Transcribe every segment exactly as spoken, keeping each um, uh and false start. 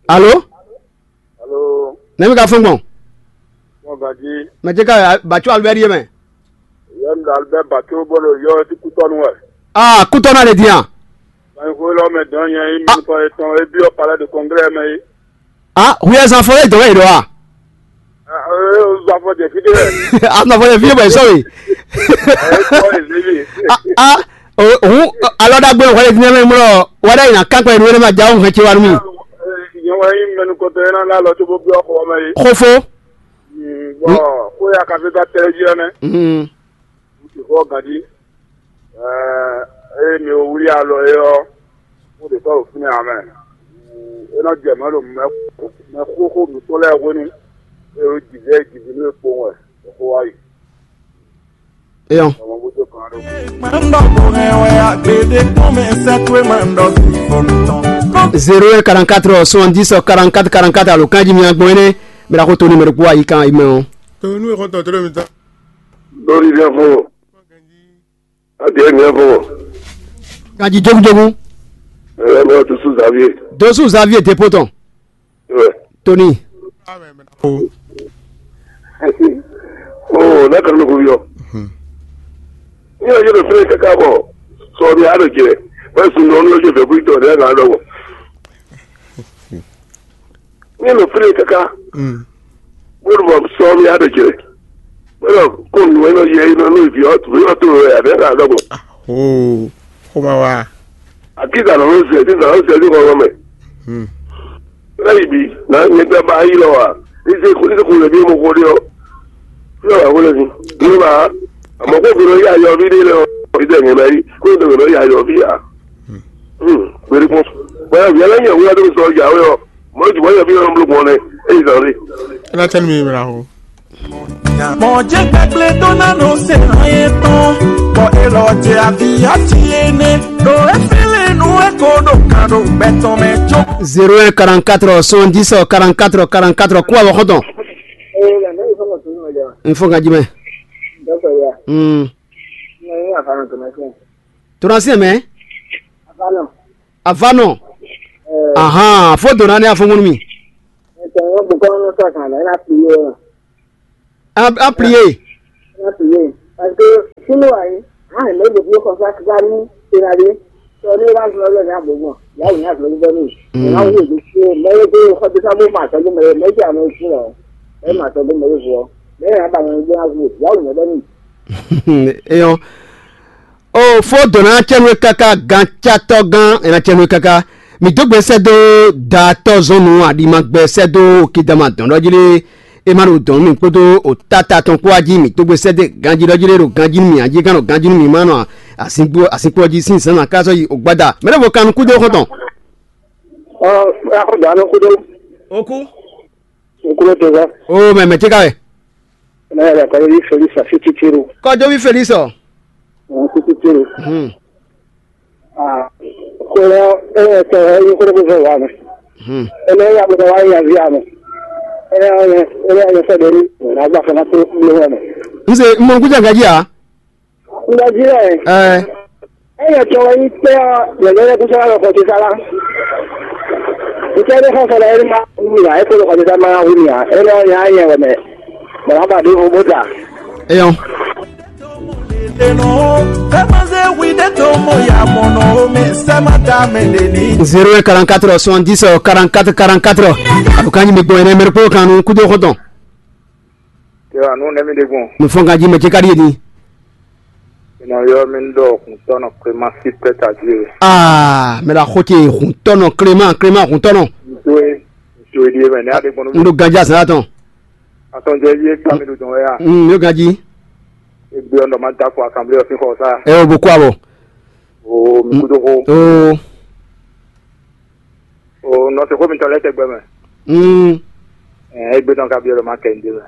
Alo? Alo? Nɛ̌ mi ka fɔ́n gbɔn? Mɔ gǎjí. Mɛ ce ka bǎ có Albɛ́ri é mɛ? Yɔ un ɖo Albɛ́ Bato bó ɖo yɔ tí kútɔ́nú wɛ. Aa, kútɔ́nú ale din a? Báyìí xó lɔ mɛ dɔn nyɛ yí mi kɔ etɔn é byɔ́ palais de congrès mɛ yí. Ah, huyɛzán fɔ yé dɔn wɛ yě ɖɔ a? Zafɔ jɛ fi ɖé wɛ. Azɔn fɔ yé fi bɔ yé sɔ we. Ɛ kɔ ezeli. Ah, ah, òhun alɔ ɖagbe wɛ yé fi mɛ mlɔ wɛ ɖe yina kankpɛ nu ne ma ja òhun hɛn ce wa nu mi. Nyɛ wɛ yí mɛnukɔtɔ yɛ ná ná lɔ tó bó byɔ́ xɔ mɛ yí. Xofo. Bɔn xó ya kafi ka tɛ jí ɔnɛ. Xɔ gǎn jí. Ée mi wlí alɔ é ɔ́, xó ɖě tɔ́ ɖo fínɛ́ ǎ mɛ. É nɔ jɛ mɔ̌ ɖo mɛ xóxó mǐtɔn lɛ́ɛ hwenu, é ɖo jǐvɛ́ jǐví nú é kpowun wɛ ɖo xó wá yi. Eyɔn. Ọmọ bó tó kàn án ló. Máa ń dọ̀bọ̀ rẹ̀ wẹ̀ àgbèdè kún mi sẹ́kúrẹ́ máa ń dọ̀bọ̀ ìfọ̀nù tán. Zéro un quarante-quatre soixante-dix quarante-quatre quarante-quatre alo kanji mi agbɔn ene. Mira ko to numéro kpó ayi kan ayi mɛ o. To nu e xɔtɔn tlɛ mi tán. Lórí ilé fún o. Adìẹ mi ẹ fún o. Kanji jogunjogun. Ẹ ẹ mọ Dosu Xavier. Dosu Xavier Depot tɔn. Ẹ. Tony. O n'a kan lóko yɔ. Ní ọjọ́ lè fẹ́ kẹ́kẹ́ bọ̀ sọ ní àdó jẹ wọ́n sùn lọ ní ọjọ́ ìfẹ́ kúrítọ̀ ní ẹ̀ka lọ́wọ́. Ní lè fẹ́ kẹ́kẹ́ bó lè bọ̀ sọ ní àdó jẹ wọ́n kó nu ẹ̀ lọ yẹ iná ní ìfì ọ̀tún ní ọ̀tún rẹ̀ àbẹ́ ẹ̀ka lọ́wọ́. Oo, ó máa wá. Àkíkà lọ́wọ́ sẹ̀ tí sàrọ́ sẹ̀ tí kò rọ mẹ́. Lẹ́yìn bí náà ní gbẹ́ bá yí lọ wá ní sẹ́kù ní sẹ́kù lè bí mo kó dé ọ́. Yóò wá wọlé sí. Ní bá àmọ́ kó gbèrò yá yọ bí dé lọ. Ìdí ẹ̀yìn náà yí kó gbèrò yá yọ bí yá. Gbèrè kún. Báyọ̀ bí ẹlẹ́yìn ìwé adó sọ ìyàwó yọ. Mọ̀ jù báyọ̀ bí ọ̀rọ̀ ń bló gbọ́n rẹ̀. Èyí sàn rí. Ẹ náà tẹ́lẹ̀ mi ìmìrà o. Mɔ̌ jɛ gbɛgblé ɖó ná nɔ se hɔn yětɔn, bɔ è lɔ jɛ avǐ ati énɛ́, ɖo é flín nú é ko ɖo kan ɖo gbɛ tɔn mɛ jó. Zéro un quarante-quatre soixante-dix quarante-quatre quarante-quatre kú àwọn xɔtɔn. Ee, la nɛ ifɔ mɔ tunu mɛ jɛ. N fɔ ganji mɛ. Dɔkɔ ya. Hmm. Ne ni afa nɔ tɔmɛ sɛn. Tɔnɔ sɛn mɛ. Afa nɔ. Afa nɔ. Ee. Ahan, fo donna ne afɔngɔn mi. Ɛtɛ ŋɔ bukɔ nɔ sɔ kan na ina pliye. A, a prier. Ina pliye. Parce que sunu ayi, ah, ne de bio comme ça qui va nous pénaliser. So ne va se le na bobo. Ya ina se le ni. Na wo de se, mais de ko de sa mo ma so de me, mais ya no si lo. E ma so de me vo. Mais ya ba mo ya vo. Ya ina de ni. Eyɔn. O fó dɔn ná cɛ́nú e káká gancátɔ́ gán è nǎ cɛ́nú e káká. Mǐ dó gbe sɛ́ dó daatɔ́ zɔn nú aɖima gbɛ sɛ́ dó kidama dɔn ɖɔ jí lé. É má ɖo dɔn nú mì kpódó o táta tɔn kpó wá jí mǐ dó gbe sɛ́ dó ganjí ɖɔ jí lé ɖo ganjí nú mì ají gán ɖo ganjí nú mì má nɔ asínkpó jí sín zǎn ná ká sɔ́ yi o gbada mɛ ɖěvo kan nú kúdó xɔ́ntɔn. Ɔ, akɔ́dà ló kúdó. Okú. Nkúló tó sá. O mɛ mɛ tí ká wɛ. Mɛ yɛ kɔjɔví Felix Asititiru. Kɔjɔví Felix ɔ. Asititiru. Hmm. Ah, kódà ẹ tẹ ẹ yí kódà bó fẹ́ wà mí. Hmm. Ẹ lọ yà bó wà yà vi àmì. Ẹ yà yẹ ẹ yà yẹ fẹ́ dẹ́rù. Nàgbà fẹ́ náà tó lé wà mí. N ṣe mọ nkújà gàjí à. N gàjí rẹ̀. Ẹ. Eya tsɔ wɛ nyí kpɛ́ ɔ́, yɛ̌yɛ́ kúsɔ́ wɛ xɔ ce sá lá. Ntɛ́ ɖé xɔ sɔ́ lɛ́ɛ ma wú mì ǎ, é kpo ɖo xɔ ce sá ma wú mì ǎ. Énɛ́ ɔ́, nya nyɛ wɛ mɛ, bɔ ná ba ɖěvo bó da. Eyɔn. Zéro un quarante-quatre soixante-dix quarante-quatre quarante-quatre. Alukanji mi gbɔn yẹn mɛ kpó kan nu kúdó xɔtɔn. Yɔ anu nɛ mi ɖe gbɔn. Mi fɔn ganji mɛ ce ka ɖi yé ni. Inɔ yɔ mi ɖɔ kuntɔnɔ Clément si pɛta die. Aa mɛ la xo ce huntɔnɔ Clément Clément huntɔnɔ. Ntoe ntoe die mɛ ne aɖe gbɔn. N ɖo ganji azan atɔn. Atɔn jɛ vie kpa mi ɖo dɔn wɛ ya. Mm, yo ganji. Egbe ɔn dɔ ma da ko asanble ɔsi xɔ sa. Ɛ o bo kó abɔ. O mi kudo ko. Oo. O nɔ se xó mitɔn lɛ tɛgbɛ mɛ. Mm. Ɛ egbe tɔn ka bi ɔlɔ ma kɛ n de mɛ.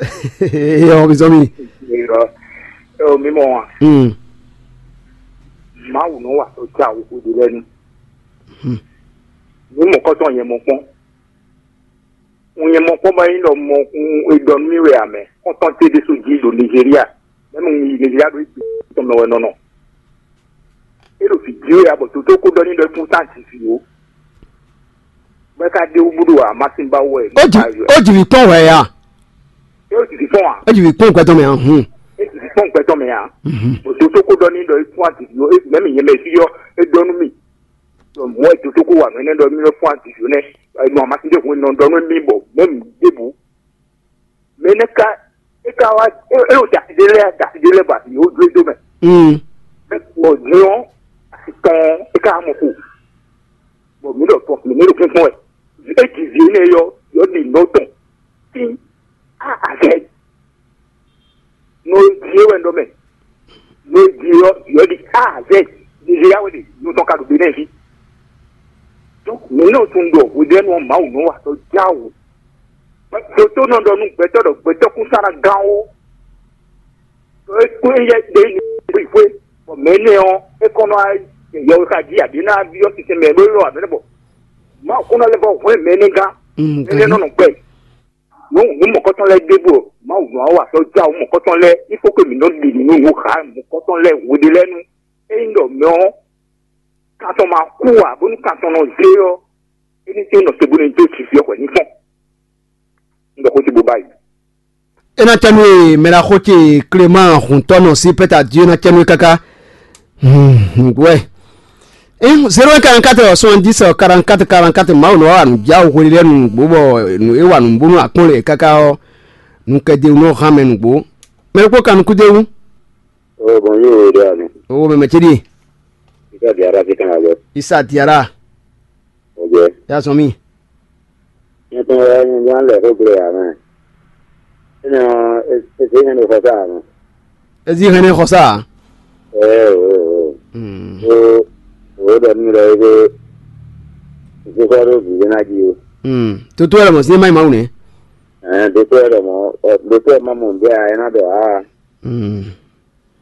Yɔ mi zɔn mi. Yɔ ɛ o mi mɔ wa. Mm. Mawu nɔ wa o tsa o o de lɛ nu. Mm. Ni mɔ kɔtɔn yɛ mɔ kpɔn. Un nyɛ mɔ kpɔn bɔ nyí ɖɔ mɔ un e ɖɔ nú mì wɛ ǎ mɛ. Xɔ́ntɔn ce ɖésú jí ɖo Nigeria. Mɛnu un yi Nigeria ɖo égbé tɔn mɛ wɛ nɔ nɔ. É ɖo vǐ jí wɛ ǎ bɔ dǒdó ko ɖɔ n'i ɖɔ é kún tá jǐ vǐ ó. Bɔ é ka ɖe wú búɖo amasin ba wɛ. Ó jì, ó jì vǐ kpɔ́n hwɛ ya. É ó jì vǐ kpɔ́n a? Ó jì vǐ kpɔ́n gbɛtɔ́ mɛ a? Hun. É jì vǐ kpɔ́n gbɛtɔ́ mɛ a? Mhm. Bó dó tó kó ɖɔ ní ɖɔ é fún adìdì ó, mɛ̌ mi nyɛ mɛ fí ɔ́, é ɖɔ nú mì. Mɔ̌ é dó tó kó wa nǔ énɛ́ ɖɔ mì nɔ fún adìdì ó nɛ́. Nɔ amasin ɖé hun nɔ ɖɔ nú mì bɔ mɛ̌ mi ɖěbǔ. Mɛ énɛ́ ka é ka wá é é ɖo dasi ɖé lɛ́ɛ dasi ɖé lɛ́ɛ bɔ asi yǒ dó é dó mɛ. Mm. Bɔ din ɔ́, asi tɔn ɔ́, é ka wá mɔ xo. Bɔ mǐ ɖɔ tɔn mǐ ní ɖo kɛ́nkɛ́n wɛ. É ji vǐ énɛ́ yɔ yɔ ɖi nɔ tɔn. Tín a azɛ. Nɔ e ji é wɛ nɔ mɛ. Nɔ e ji yɔ yɔ ɖi a azɛ. Ɖiɖi ya wɛ ɖe nɔ tɔn ka ɖo gbe nɛ ví. Donc mǐ nɔ tunwun ɖɔ hweɖɛnu ɔ́ Mawu nɔ wa tɔ jáwǔ. Dotónɔ ɖɔ nú gbɛtɔ́ ɖɔ gbɛtɔ́ kún sán ná gán ó. É kún é yɛ ɖe ní xwixwé, bɔ mɛ énɛ́ ɔ́, é kɔn nɔ yɛwexají abǐ ná byɔ́ sinsɛn mɛ ɖó lɔ abǐ bɔ Mawu kún nɔ lɛ́ vɔ hwɛ́n mɛ énɛ́ gán. Mm, énɛ́ nɔ nɔ gbɛ. Nú nú mɔ̌kɔtɔn lɛ́ɛ ɖěbǔ ɔ́, Mawu nɔ wa sɔ́ já wǔ mɔ̌kɔtɔn lɛ́ɛ, í fó ke mǐ nɔ ɖi nǔ nú nǔ xa mɔ̌kɔtɔn lɛ́ɛ hweɖé lɛ́ɛ nu. Ényí ɖɔ mɛ ɔ́, kan tɔn ma kú ǎ, bónú kan tɔn nɔ zé ɔ́, é ní tín nɔ te bó ní dó jǐ fí ɔ́ hwɛ̌ ní fɔ́n. Un ɖɔ xó ce bó báyìí. É ná cɛ nú e mɛ ɖaxó ce Clément Huntɔnɔ sí pɛ́ta Dieu ná cɛ nú e káká. Nǔgbó wɛ. Zéro un quarante-quatre soixante-dix quarante-quatre quarante-quatre Mawu nɔ wa nǔ já hwe lɛ́ɛ nǔgbó bɔ nǔ é wa nǔ bónú akpɔ́n lɛ káká ɔ́, nǔkɛdéwú nɔ hán mɛ nǔgbó. Mɛ ɖokpó kan nukúndéwú. Oh, bonjour, Dani. Owó mɛmɛ ce ɖíe. Isa Diarra ti kan abɛ. Isa Diarra. Ok. Ya zɔn mì. Nyɛ tɔn wɛ nyɛ jɔ lɛ xó gblé ya mɛ. Enɛ ɔ́, eze hɛn ɖo xɔsa mɛ. Ezi hɛn ɖo xɔsa. Ɛɛ o o. Hmm. O o ɖɔ nú ɖɔ ebe. Eze kɔ ɖo vǐ na jí o. Hmm. Toto wɛ lɔ mɔ sí ma yi Mawu nɛ. Ɛɛ, doto wɛ ɖɔ mɔ, ɔ, doto wɛ ma mɔ nǔɖé a, ɛ ná ɖɔ aa. Hmm.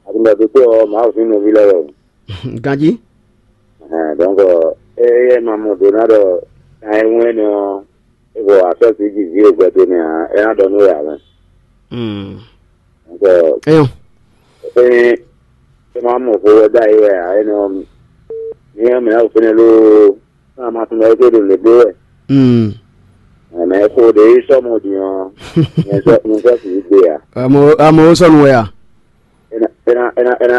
Aɖúgbò doto ɔ́, Mawu sín nɔví lɛ́ɛ wɛ o. Ganjí. Ɛhɛn, donc, ɛ, éyɛ́ ma mɔ do ná ɖɔ kan e wɛn nɔ é bɔ asɔ́ sí jí vǐ e gbɛdo nɛ ǎ, é ná ɖɔ nú we ǎ mɛ. Hmm. Donc, Eyɔn. É é ma mɔ xó wɛ ɖ'ayǐ wɛ ǎ, é nɔ mi ɔ́ mɛ ɔ́ fɛnɛ lóó, ná ma tunwun ɖɔ é ɖo nǔ ɖé wɛ. Hmm. Mɛ xó ɖě yi sɔ́ mɔ din ɔ́, nyɛ sɔ́ nyɛ sɔ́ sì yi gbe ǎ. Amo amo ó sɔ́ nú wɛ a? É ná é ná é ná é ná